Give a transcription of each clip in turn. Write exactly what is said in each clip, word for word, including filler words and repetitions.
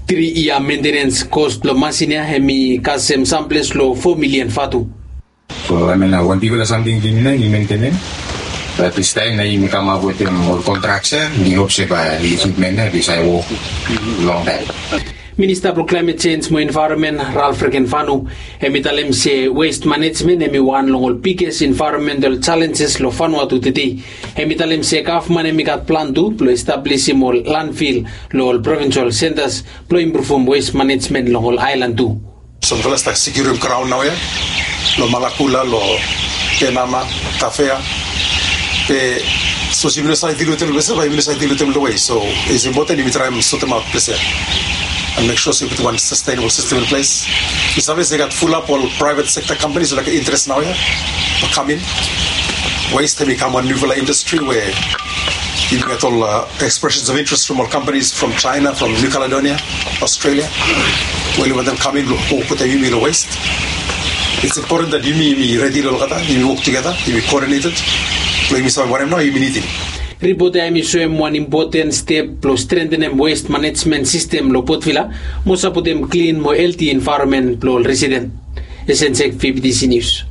Tri yia mentenens kos blong masin ya hem i kasem samples long fo milian vatu. So I mean, wan bigfala samting yumi nau yumi mentenem. Bat distaem nau yumi kamap wetem ol kontraksen, mi hop se bae ekipmen ya i save wok longtaem. Minista blong Klaemet Jenj mo Envaeronmen, Ralph Regenvanu, hem i talem se west manejmen hem i wan long ol biges envaeronmental jalenjes long Vanuatu tede. Hem i talem se gavman hem i gat plan tu blong establisim ol landfil long ol provinsel sentas blong impruvum west manejmen long ol aelan tu. So mifala stap sekiurim graon naoia long Malakula, long Penama, Tafea. Be sapos yumi no save dil wetem long ples ya, bae yumi no save dil wetem long west. So it's important yumi traem sotemaot ples ya and mek sua se yumi putum wan sustainable system in place. Mi save se i gat fulap ol private sector companies olgeta interes naoia blong kam in. West hem i kam wan niufala indastri we yumi gat ol expressions of interest from ol companies from China, from New Caledonia, Australia, we oli wantem kam in blong wok wetem yumi long west. It's important that yumi, yumi redi long olgeta, yumi wok tugeta, yumi coordinated blong yumi save wanem nao yumi nidim. Ripot ya hem i soem wan impoten step blong strentenem west manejmen sistem long Port Vila mo sapotem klin mo helti envaeronmen blong ol residen. Esensek VBTC News.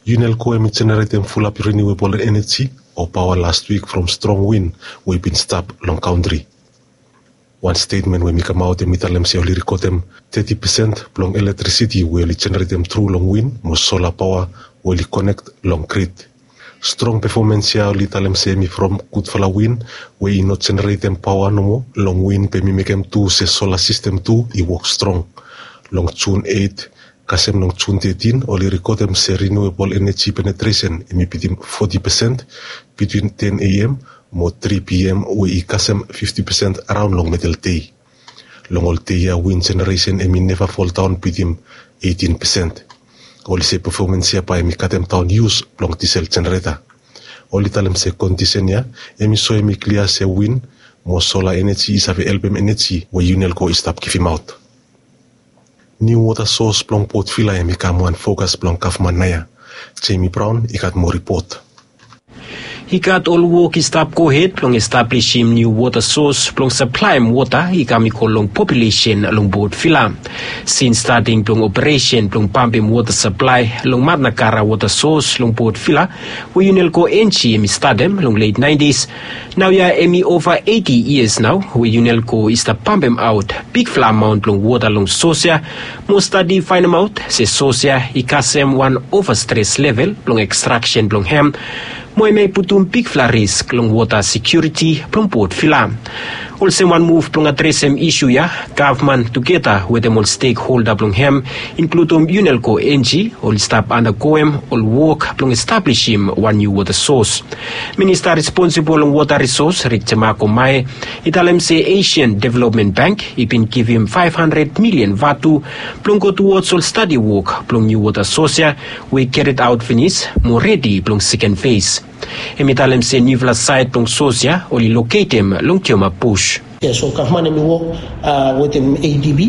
UNELCO hem i jeneretem fulap riniuebol eneji o paoa las wik from strong win we i bin stap long kantri. Wan stetmen we hem i kamaot hem i talem se oli rikotem teti pesen blong elektrisiti we oli jeneretem tru long win mo sola paoa we oli konek long grid. Strong pefomens ya oli talem se hem i from gudfala win we i no jeneretem paoa nomo long win be hem i mekem tu se sola sistem tu i wok strong. Long Jun eit kasem long Jun tetin oli rikotem se riniuebol eneji penetresen hem i bitim foti pesen bitwin ten A M mo tri P M we i kasem fifti pesen araon long medel dei. Long ol dei ya win jeneresen hem i neva foldaon bitim eitin pesen. Oli se pefomens ya bae hem i katemdaon yus blong disel jenereta. Oli talem se kondisen ya hem i soem i klia se win mo sola eneji i save helpem eneji we UNELCO i stap givimaot. Niu wota sos blong Port Vila hem i kam wan fokas blong gavman naoia. Jamie Brown i gat moa ripot. I gat ol wok i stap gohed blong establisim niu wota sos blong saplaem wota i kam i go long populesen long Port Vila. Sins stating blong operesen blong pampem wota saplae long Matnakara wota sos long Port Vila we UNELCO Enji hem i statem long let naentis, naoia hem i ova eiti yias nao we UNELCO i stap pampemaot bigfala amaon blong wota long sos ya mo stadi faenemaot se sos ya i kasem wan ova stres level blong ekstraksen blong hem mo hemia i putum bigfala risk long wota sekiuriti blong Port Vila. Olsem wan muv blong adresem isu ya, gavman tugeta wetem ol stekholda blong hem, inkludum UNELCO Enji, oli stap andagoem ol wok blong establisim wan niu wota sos. Minista responsibol long wota risos, Rik Jemako Mae, i talem se Asian Development Bank i bin givim faef handred milian vatu blong go tuwods ol stadi wok blong niu wota sos ya we i keriaot finis mo redi blong seken fes. Hem i talem se niufala saed blong sos ya oli loketem long Tioma Bus. Ya, so gavman hem i wok wetem ADB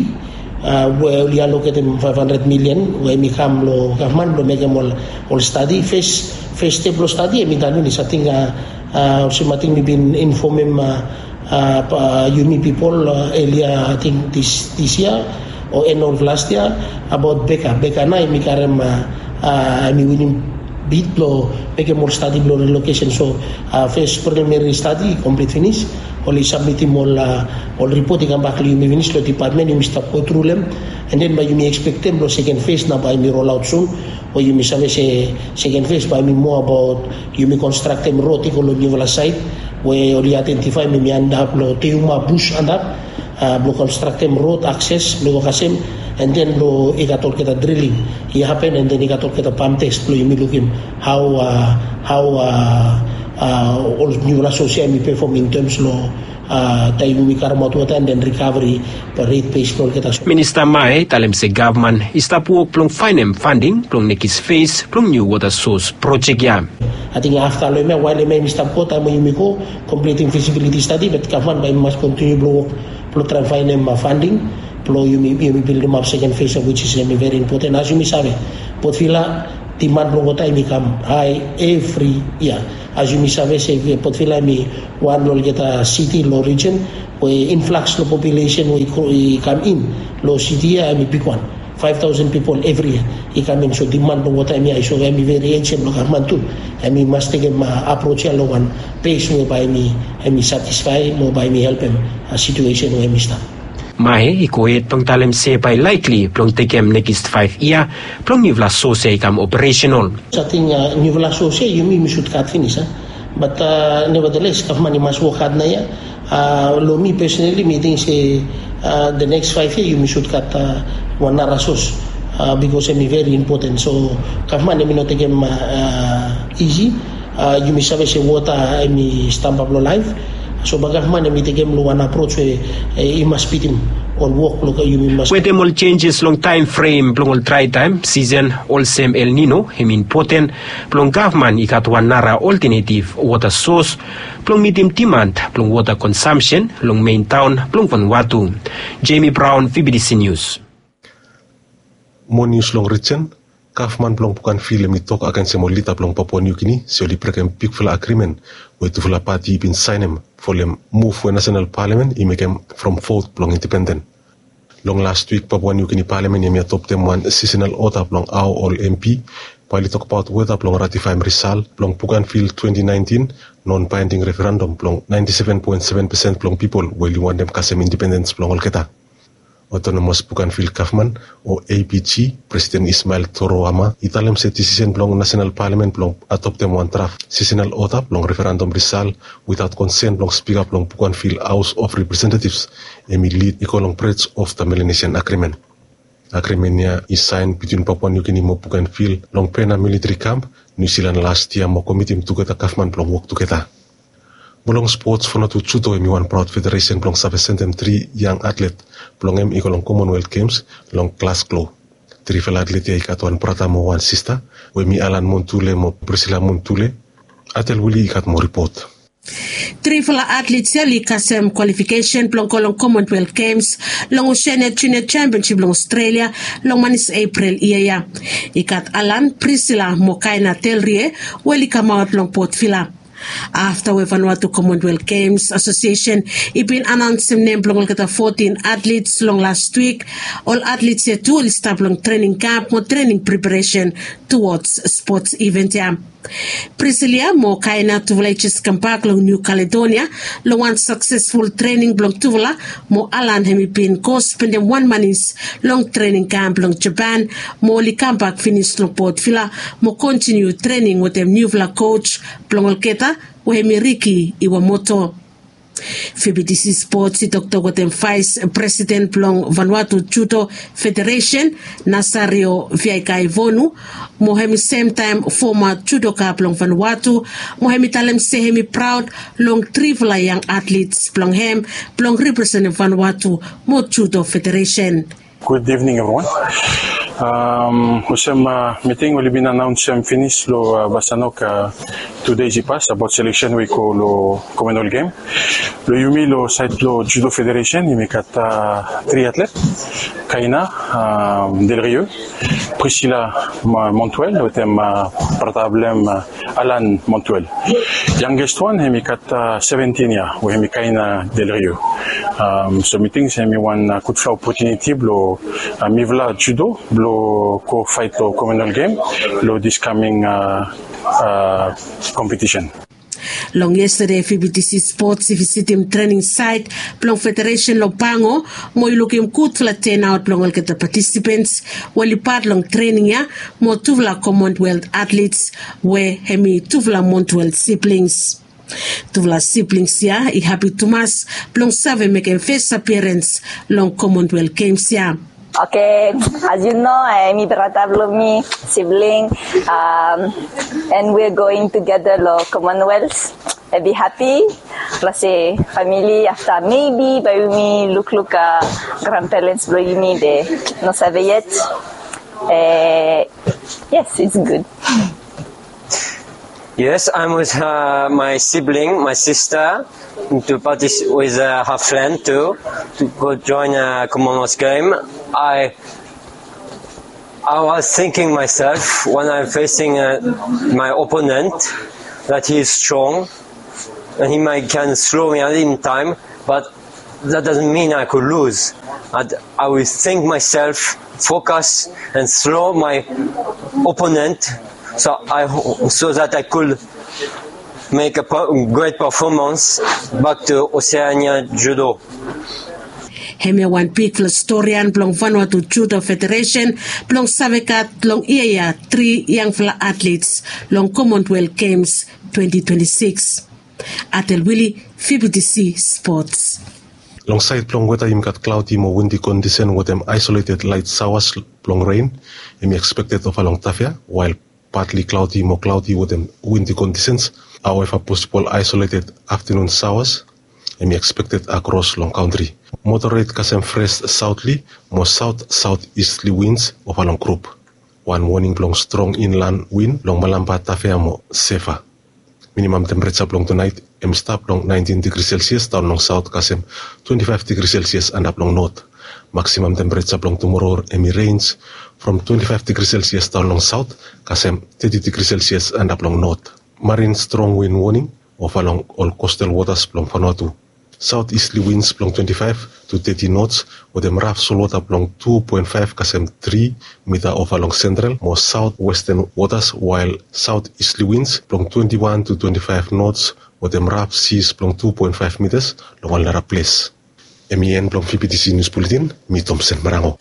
we oli aloketem faef handred milian we hem i kam long gavman blong mekem ol stadi. Fes step blong stadi hem i done finis. Ating olsem ating mi bin infomem yumi pipol elia ating dis yia o en of last yia abaot beka. Beka nao hem i karem hem i winim bid blong mekem ol stadi blong relokesen. So fes prilimeri stadi i komplit finis. Oli sabmitim ol ripot i kambak long yumi finis long dipatmen yumi stap gotru long hem. An den bae yumi ekspektem blong seken fes nao bae hem i rolaot sun. We yumi save se seken fes bae hem i moa abaot yumi konstraktem rod i go long niufala saed we oli aedentifaem hem i antap long Tioma Bus antap blong konstraktem rod akses blong i go kasem. An den blong i gat olgeta driling i hapen an den i gat olgeta pam test blong yumi lukim hao hao ol niufala sos ya hem i pefom in tems long taem yumi karemaot wota an den rikaveri. Ret bes blong olgeta sos. Minista Mae i talem se gavman i stap wok blong faenem fanding blong nekis fes blong niu wota sos projek ya. Ating afta long hemia wael hemia yumi stap go taem we yumi go komplitim fisibiliti stadi bat gavman bae yumi mas kontiniu blong wok blong traem faenem fanding blong yumi bildimap seken fes of wits is hem i veri impoten as yumi save Port Vila Diman blong wota hemi kam hae evri yia. As yumi save se Port Vila hemi wan long olgeta siti long rijen we inflaks long populesen we i kam in long siti ya hemi bigwan. Faef taosen pipol evri yia i kam in, so diman blong wota hemi hae, so hemi veri ensen long gavman tu. Hemi mas tekem aproj ya long wan pes we bae hemi satisfae mo bae hemi helpem situesen we hemi stap. Mae i gohed blong talem se bae laikli blong tekem nekis faef yia blong niufala sos ya i kam operesenol. Ating niufala sos ya yumi mi sud gat finis a, bat nevadeles gavman i mas wok had nao ya. Long mi pesonali mi ting se the next faef yia yumi sud gat wan nara sos, bikos hemi veri impoten, so gavman hemi no tekem isi. Yumi save se wota hemi stamba blong laef, so bae gavman hemi tekem long wan aproj we i mas pitim ol wok blong yumi mas. Wetem ol jenjes long taem frem blong ol drae taem sisen olsem El Nino, hemi impoten blong gavman i gat wan nara oltenetiv wota sos blong mitim diman blong wota konsamsen long men taon blong Vanuatu. Jemi Braon, V B T C Nius. Moa nius long rijen. Gavman blong Bougainville hemi tok agensem ol lida blong Papua Niu Gini se oli brekem bigfala agrimen we tufala pati i bin saenem folem muv we nasenal palamen i mekem from vot blong indipenden. Long las wik Papua Niu Gini palamen hemi adoptem wan sisenal oda blong hao ol M P bae oli tokbaot weta blong ratifaem risal blong Bougainville twenti naentin non baending referandom blong naenti seven poen seven pesen blong pipol we oli wantem kasem indipendens blong olgeta. Otonomos Bougainville Gavman o A B G, Presiden Ismael Toro Ama i talem se disisen blong nasenal palamen blong adoptem wan draf sisenal oda blong referandom risal witaot konsen blong spika blong Bougainville Haos of Representativs hemi lid i go long brej of the Melanesian Agrimen. Agrimen ya i saen bitwin Papua Niu Gini mo Bougainville long Pena militri kamp Niu Silan las yia mo komitim tugeta gavman blong wok tugeta. Mo long spots, Vanuatu Judo hemi wan praod federesen blong save sendem tri yang atlet blong hem i go long Commonwealth Games long Glasgow. Trifala atlet ya i gat wan brata mo wan sista we hemi Alan Montule mo Priscilla Montule. Atel Wili i gat moa ripot. Trifala atlet ya oli kasem kwalifikesen blong go long Commonwealth Games long Oceania Junior Championship long Australia long manis Epril yia ya. I gat Alan, Priscilla mo Kaina Delrie we oli kamaot long Port Vila. Afta we Vanuatu Commonwealth Games Association i bin anaonsem nem blong olgeta fotin atlets long las wik, ol atlets ya tu oli stap long trening kamp mo trening preparesen tuwods spots iven ya. Priscilla mo Kaina tufala i jes kambak long Niu Kaledonia long wan saksesful trening blong tufala, mo Alan hemi bin go spendem wan manis long trening kamp long Japan, mo oli kambak finis long Port Vila mo kontiniu trening wetem niufala koj blong olgeta we hemi Ricky Iwamoto. V B T C Sports i toktok wetem vaes presiden blong Vanuatu Judo Federesen, Nasario Viaikaivonu, mo hemi semtaem foma judoka blong Vanuatu, mo hemi talem se hemi praod long trifala yang atlets blong hem blong representem Vanuatu mo Judo Federesen. Good evening, everyone. Olsem miting oli bin anaonsem finis long Vasanok tu dei i pas abaot seleksen we i go long Commonwealth Game. Long yumi long saed blong Judo Federesen yumi gat tri atlet, Kaina Del Rio, Priscilla Montuel wetem brata blong hem Alan Montuel. Yangest wan hemi gat seventin yia we hemi Kaina Del Rio. So mi ting se hemi wan gudfala opotuniti blong mifala judo blong go faet long Commonwealth Game long dis kaming kompetisen. Long yestade V B T C Sports i visitim trening saet blong federesen long Pango mo i lukim gudfala tenaot blong olgeta patisipens we oli pat long trening ya, mo tufala Commonwealth atlets we hemi tufala Montuel siblings. Tufala siblings ya i hapi tumas blong save mekem fes apiarens long Commonwealth Games ya. Oke, as you know, hemi brata blong mi, sibling, and we're going together long Commonwealth. Hemi hapi blong se famili afta maybe bae yumi lukluk grandparents blong yumi, be no save yet. Yes, it's good. Yes, I'm with uh, my sibling, my sister, to participate with uh, her friend too, to go join a Commonwealth game. I I was thinking myself when I'm facing uh, my opponent that he is strong and he might can slow me at any time, but that doesn't mean I could lose. And I will think myself, focus, and slow my opponent, so I so that I could make a great performance back to Oceania Judo. Hemia wan bigfala storian blong Vanuatu Judo Federation blong save gat long ia ia tri yangfala atlets long Commonwealth Games twenty twenty-six. Atel Willie, V B T C Sports. Long saed blong weta, yumi gat klaodi mo windi kondisen wetem aisoleted laet saoas blong ren hemi ekspekted ofa long Tafea, wael patli klaodi mo klaodi wetem windi kondisens. Aoeva, posibol aisoleted aftenun saoas hemi ekspekted akros long kantri. Moderet kasem fres saotli mo saot saotistli wins ofa long grup. Wan woning blong strong inlan win long Malampa, Tafea mo Sefa. Minimam tempereja blong tunaet hemi stap long naentin digri selsias daon long saot kasem twenti faef digri selsias antap long not. Maksimam tempereja blong tumoro hemi renj from twenti faef digri selsias daon long saot kasem teti digri selsias antap long not. Marin strong win woning ofa long ol kostal wotas blong Vanuatu. Saotistli wins blong twenti faef tu teti nots wetem raf solwota blong tu poen faef kasem tri mita ofa long sentral mo saotwesten wotas, wael saotistli wins blong twenti wan tu twenti faef nots wetem raf sis blong tu poen faef mitas long ol nara ples. Hemi en blong V B T C Nius Buletin. Mi Tomsen Marango.